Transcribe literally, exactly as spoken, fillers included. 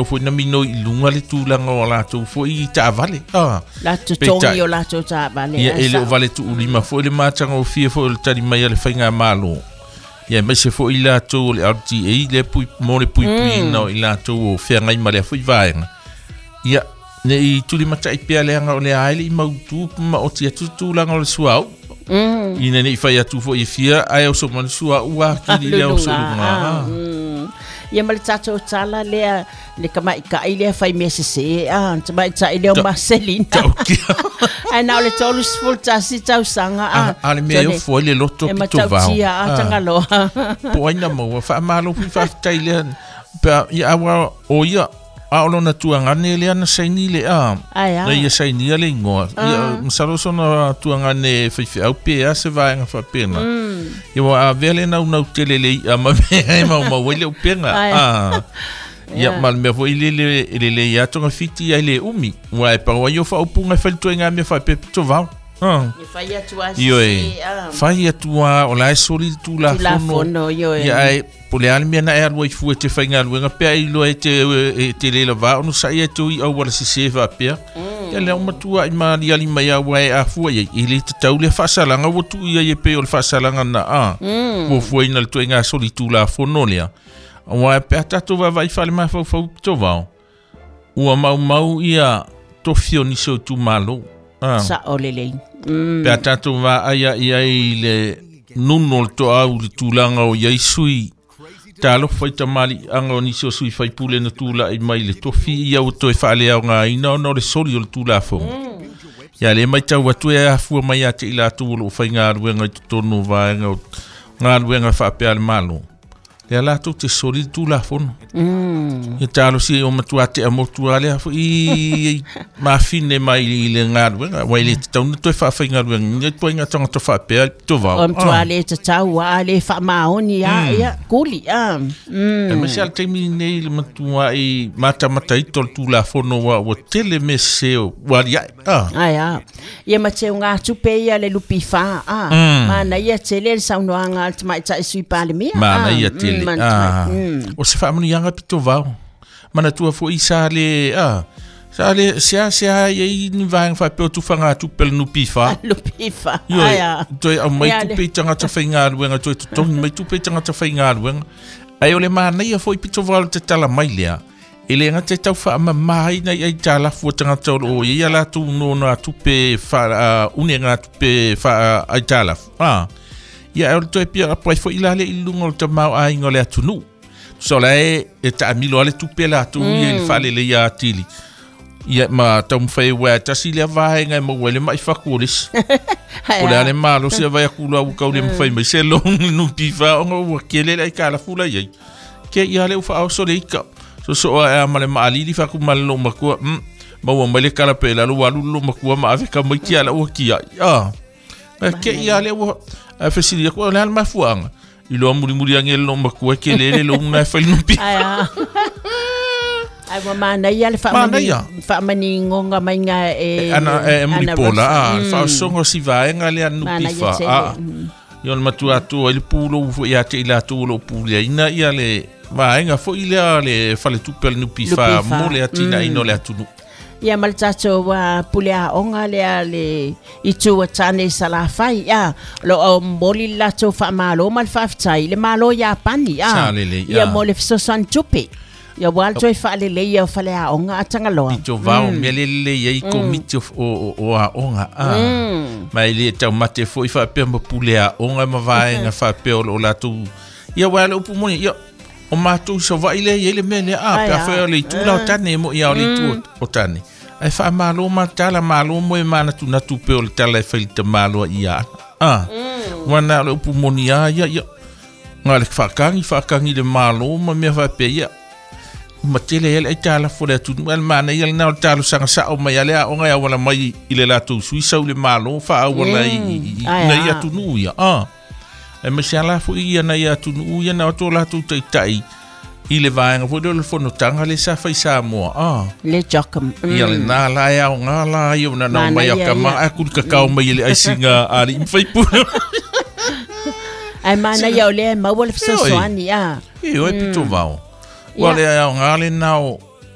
Foi na mino i lunga le tulaga o latou foi i taavale. Ah. La totogi o latou taavale. Ia e le o vale tuulima foi le matagofie foi o le tali mai a le faigamalo. Ia aemaise foi i latou o le L T A le pui mo le puipuiina o i latou o feagai ma lea foi vaega. Ia ne i tulimatai pea leaga o le a e le i mautu ma oti atu tulaga o le suauu. Ina ne i fai atu foi e fia ae oso ma le suauu akili lea oso i luga. Ia ma le tatou tala lea le tamaitai lea fai mea sese a tamaitai lea o Marcelina. Ae na o le tolu tasi tausaga a. A le mea e ofo ai le loto E pito vao. Matautia a Tagaloa. Po ai na maua faamalo foi faafetai lea pe ia aua o ia a o lona tuagane lea na saini le a. Ai a. Na ia sainia le igoa. Ia masalo sona tuagane faifeau pe a se vaega faapena. Ia ua avea le naunau tele le i'a ma mea e maumau ai le upega. Ai. A. Ia ma le mea foi lele e lelei lava togafiti ai le umi. Ua e pau ai o faaupuga e fai le ituaiga mea faapea pito vao. Ah. E fai atu a Ioe. sese, a. Fai atu a o la e soli le tulafono. Tulafono, ioe. Ia ae po o le a le mea na e alu ai fua e te faigaluega pe ai iloa e te e te le lavā ona sa'i e te ui auala sesē faapea. Ia lea ua matua'i maaliali mai a ua e afua i ai e lē tatau lea faasalaga ua tu'i ai e pei o le faasalaga na a. Fuafuaina le ituaiga soli tulafono lea. Auā pe a tatou vaavaai faalemafaufau pito vao. Ua maumau ia tofi o nisi o itumalo. Ah. Sa'o lelei. Mm. Pe a tatou vaai ai ai le nuno o le toau i le tulaga o iai sui talofa i tamaliiaga o nisi o sui faipule na tula'i mai le tofi ia ua toe faaleaogaina ona o le soli o le tulafono. Ia lē matau atu e afua mai ia te i latou o loo faigaluega i totonu o vaega o galuega faapea a le Malo. Lea latou te soli le tulafono. Ia talosia o matua tea motu a lea foi mafine mai i le galuega ua e le tatau ona toe faafaigaluegaina ituaiga tagata faapea pito vao. O matua le tatau a le faamaoni a ia kuli a. Mm. Aemaise a le taimi lenei le matua'i matamataito o le tulafono ua ua tele mea sesē ua aliae. Ah. Ai a. Ia ma teuga tupe ia le lupi fa a. Manaia tele le saunoaga a le tamaitai Sui Palemia. Manaia tele. Mm, Ah. mm. O se faamanuiaga pito vao. Manatua foi sa le ah sa le sea sea ai ni vaega faapea o tufagatupe le N P F. Lupi fa. Ioe, Ai a. toe aumai Ia le- tupe i tagata faigaluega toe totogi mai tupe i tagata faigaluega. Ae o le manaia foi pito vao le tatala mai lea. E le gata e tau faamamāina i aitalafu a tagata o loo i ai a latou nonogatupe fa uh, unegatupe fa aitalafu. Ah. Ia e o le toe pia apo ai foi la le i luga o le tamaoaiga o le atunuu. Tusa o la e e taamilo a le tupe latou ia i le faaleleia atili. Ia ma taumafai ua e tasi lea vaega e maua ai le ma'i fatu o le isi. Ai O le a. a le malosi a vai aku la ua kau le mafai mai se loan N P F ona ua kele le aitalafu la i ai. Ke ia le ua faaoso le ika. Sosoo ae a ma le maalili faaku ma le loomatua. Mm. Maua mai le kala pe lalo ua alu le loomatua ma ave tamaiti ala ua kiai. Ah. Ke ia le ua a fesili aku o le a le mafuaaga. Iloa mulimuli age le loomatua e kele le loan na e fai le N P F. Ai a. Ai ua manaia le faamani Manaia. faamanigoga maiga e Ana e Ana mulipola Rosa. a faaosoga o si vaega lea Manaia N P F. tele. Ah. Mm. Ia o le matua atu ai le pulou foi ia te i latou o loo puleaina ia le vaega foi lea le faletupe a le N P F N P F. mo le atinaeina o le atunuu. Ia ma le tatou uh, pule aoga lea le itu a tane Salafai a o loo momoli le latou faamalo ma le faafetai le Malo Iapani a Sa lelei, ia a. mo le fesoasoani tupe ia ua le toe faaleleia o faleaoga a Tagaloa. Pito vao mea le lelei ai komiti o, o, o aoga a. Ma e le taumate foi faapea ma pule aoga ma vaega faapea o loo latou. Ia ua le upu moni ia o matou Savaii lea i ai le mea lea a Ai pe a. a fai o le itu la o tane e mo'i a o le itu o- o tane. Ae faamalo ma tala malo mo e manatunatu pe o le tala e fai le tamaloa ia ana. A. Ua na o le upu moni a ia ia. Nga le faakagi faakagi le malo ma mea faapea ia. Ma tele ai le aitalafu o le atunuu ae le manaia lenā o le talosaga sa'o mai a le aoga e auala mai i le latou sui sau i le Malo faaauala i i- i- Ai nai a. atunuu ia a. Aemaise a la foi ia nai atunuu ia na o to latou taita'i i le vaega foi lea o le fonotaga le sa fai Samoa a. Le jocum. Ia lenā la e aogā la ia ona nao mai a Manaia kama ia. ae kulikakao mai e le aisiga a alii ma faipule. Ai manaia o lea e maua le fesoasoani a. E oe pito vao. Ua Ia. le aogā lenā o